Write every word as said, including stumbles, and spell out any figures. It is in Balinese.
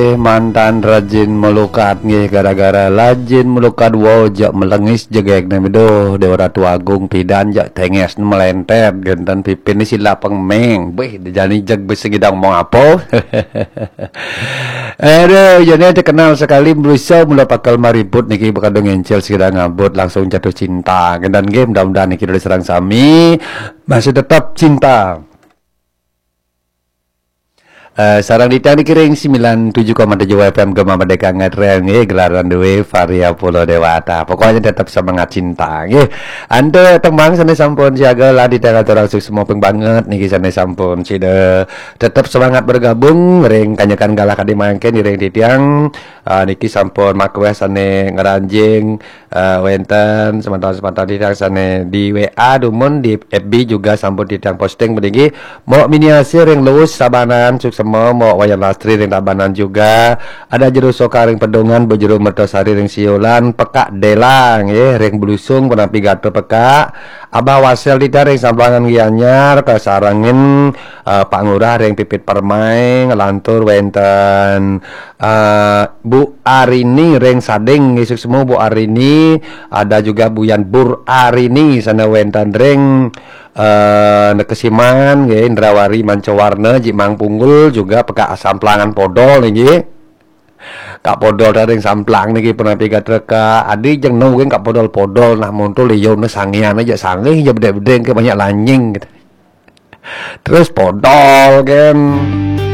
Eh, mantan rajin melukat nggih, gara-gara rajin melukat, wow, jak melengis jegek nami doh, Dewa Ratu Agung pidan jak tenges melenter, genten pipin ni sila pengmeng. Beh, jani jeg besi gidang mau apa? Aduh, jani terkenal sekali berusaha mula pakal mariput niki bakal ngencel segera ngabut langsung jatuh cinta. Genten nggih, mudah-mudahan niki dari serang sami masih tetap cinta. Eh, sarang ditang dikiring sembilan tujuh koma tujuh F M Gema Merdeka Ngetrel nggih, gelaran duwe Varia Pulau Dewata. Pokoknya tetap semangat cinta nggih. Ante tembang sane sampun siaga lah ditang atur langsung semua peng banget niki sane sampun sida tetap semangat bergabung ring kanyekan galah kadi mangkin ring titiang. Ah, niki sampun makweh sane ngeranjing eh, wenten semanten-semanten titiang sane di W A dumun di F B juga sampun titiang posting peninggi. Mok Miniasi ring Luwus Sabanan suksema, Mok Wayan Lastri ring Tabanan juga. Ada Jero Soka ring Pedungan, Bejero Mertosari ring Siolan, Pekak Delang nggih ring Belusung, penampi gatra Pekak. Abah Wasel titiang ring Samplangan Gianyar, kasarengin eh, Pak Ngurah ring Pipit Permai, ngelantur wenten eh, Bu Arini ring Sading, nggih suksema Bu Arini, ada juga Buyan Bur Arini sane wenten ring eh Nekesiman nggih, Indrawari Mancawarna, Jimang Punggul juga Pekak Samplangan Podol nggih. Kak Podol ring Samplang niki penampi gatra Kak Adi jeng no nggih Kak Podol-podol nah monto liyo ne sangian aja sangih aja bedeng-bedeng ke banyak lanying gitu. Terus Podol kan.